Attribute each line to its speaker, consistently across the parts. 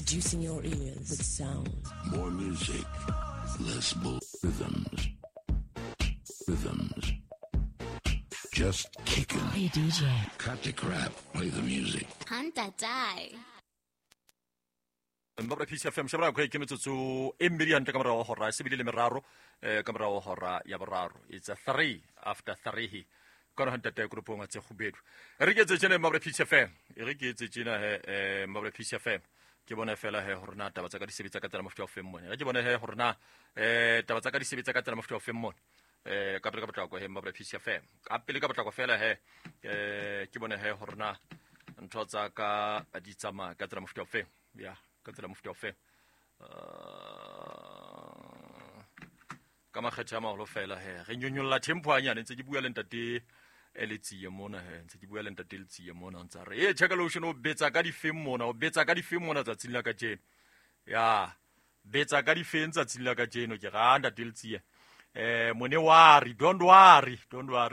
Speaker 1: Seducing your ears with sound.
Speaker 2: More music, less bull rhythms. Rhythms. Just kicking.
Speaker 1: Hey DJ.
Speaker 2: Cut the crap. Play the music.
Speaker 3: Hunter die.
Speaker 4: Mbabra Peace FM shabra kwa ke metsotso e mmedi hantle ka morao hora se bile le meraro ka morao hora ya boraro. It's a 3 after 3 ka hanta te grupong tse kgubedu. Re ke tse tsena Mbabra Peace FM. Re ke tse tsena he Mbabra Peace FM. Ke bona fela he hore na taba tsa ka di sebetsa ka tsela mofuta o feng mone. Re ke bona he hore na taba tsa ka di sebetsa ka tsela mofuta o feng mone. Ka pele ka potlako he Mbabra Peace FM. Ka pele ka potlako fela he ke bona he hore na ntho tsa ka di tsamaya ka tsela mofuta o feng. Ya ka tsela mofuta o feng. Ka makgethe a maholo fela he re nyonyolla tempo hanyane ntse ke bua le ntate Letsie mona he ntse ke bua le ntate Letsie mona ntse re e check lotion o betsa ka difeng mona o betsa ka difeng mona tsatsing la kajeno ya betsa ka difeng tsatsing la kajeno ke ga ntate Letsie mone worry don't worry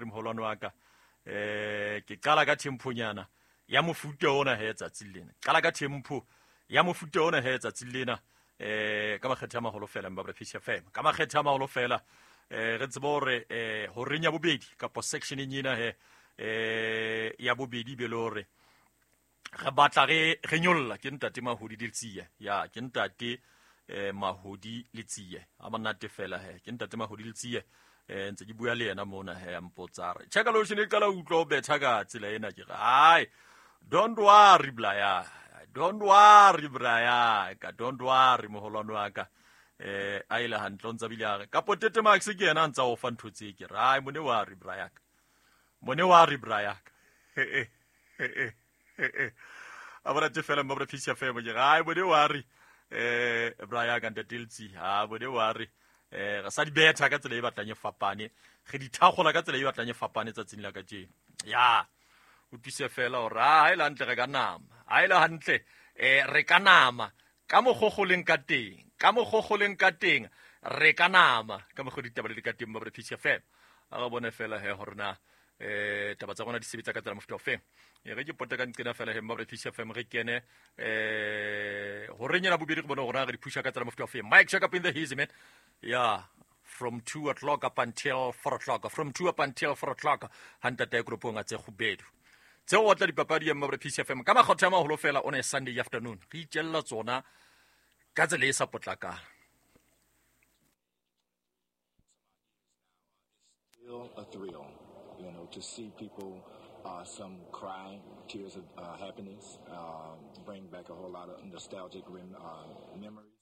Speaker 4: moholwane wa ka ke qala ka temponyana ya mofuta ona he tsatsing lena qala ka tempo ya mofuta ona he tsatsing lena ka makgethe a maholo fela Mbabra Peace FM ka makgethe a maholo fela re tsebe hore horeng ya bobedi kapa section ena he ya bobedi be le hore re batla re nyolla ke ntate Mahodi Letsie ya ke ntate Mahodi Letsie a monate fela he ke ntate Mahodi Letsie ntse ke bua le yena mona he a mpotsa re check lotion e qala utlwa o betha ka tsela ena ke re hai don't worry blaya don't worry braya ka don't worry moholwane wa ka a ile hantle ntse bile a re ka potete Max ke yena ntsa o fa ntho tse ke re ai mone worry braya ka mone worry braya ka a bona te fela Mbabra Peace FM ke re ai mone worry braya ka ntate Letsie ha mone worry re sa di betha ka tsela e batlang e fapane re di thagola ka tsela e batlang e fapane tsatsing la kajeno ya o tuse fela hore ha ile hantle re ka nama ha ile hantle re ka nama ka mogogoleng ka teng ka mogogoleng ka teng re ka nama ka mogodi ditaba le ka teng Mbabra Peace FM a re bone fela he hore na taba tsa rona di sebetsa ka tsela mofuta o feng re ke pota ka nqena fela he Mbabra Peace FM re kene horeng ya bobedi re bone hore re di pusha ka tsela mofuta o feng. Mike check up in the hazy man yeah from 2 o'clock up until 4 o'clock from 2 up until 4 o'clock hantate grupong tse kgubedu tseo o tla dipapadi ya Mbabra Peace FM ka makgotho a maholo fela on a Sunday afternoon re itjella tsona ka tsela e sa potlakang.
Speaker 5: Still a thrill, you know, to see people some cry tears of happiness, bring back a whole lot of nostalgic memories.